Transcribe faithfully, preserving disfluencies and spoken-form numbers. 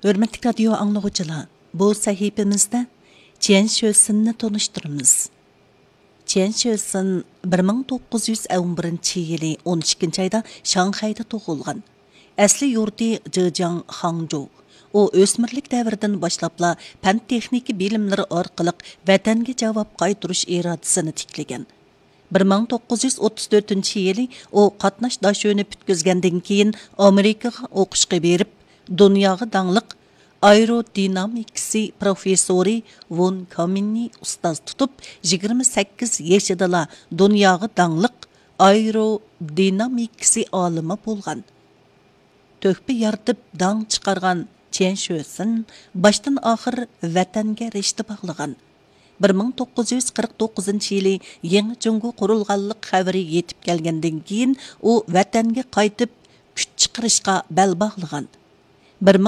ھۆرمەتلىك رادىيو ئاڭلىغۇچىلار، بۇ سەھىپىمىزدە چيەن شۆسىننى تونۇشتۇرىمىز. چيەن شۆسىن بىر مىڭ توققۇز يۈز ئون بىرىنچى يىلى ئون ئىككىنچى ئايدا شاڭخەيدە تۇغۇلغان. ئەسلى يۇرتى جېجياڭ، خاڭجۇ. ئۇ ئۆسمۈرلۈك دەۋرىدىن باشلاپلا پەن تېخنىكا بىلىملىرى ئارقىلىق ۋەتەنگە جاۋاب قايتۇرۇش ئىرادىسىنى تىكلىگەن. بىر مىڭ توققۇز يۈز ئوتتۇز تۆتىنچى يىلى ئۇ قاتناش داشۆنى پۈتكۈزگەندىن كېيىن، ئامېرىكىغا ئوقۇشقا بېرىپ، دۇنياغا داڭلىق ئايرودىنامىكىسى پروفېسسورى ۋون كامىننى ئۇستاز تۇتۇپ، يىگىرمە سەككىز يېشىدىلا دۇنياغا داڭلىق ئايرودىنامىكىسى ئالىمى بولغان. تۆھپە يارىتىپ داڭ چىقارغان چيەن شۆسىن باشتىن ئاخىر ۋەتەنگە رىشتە باغلىغان. بىر مىڭ توققۇز يۈز قىرىق توققۇزىنچى يىلى يېڭى جۇڭگو قۇرۇلغانلىق خەۋىرى يېتىپ كەلگەندىن كېيىن، ئۇ ۋەتەنگە قايتىپ، كۈچ چىقىرىشقا بەل باغلىغان. بىر مىڭ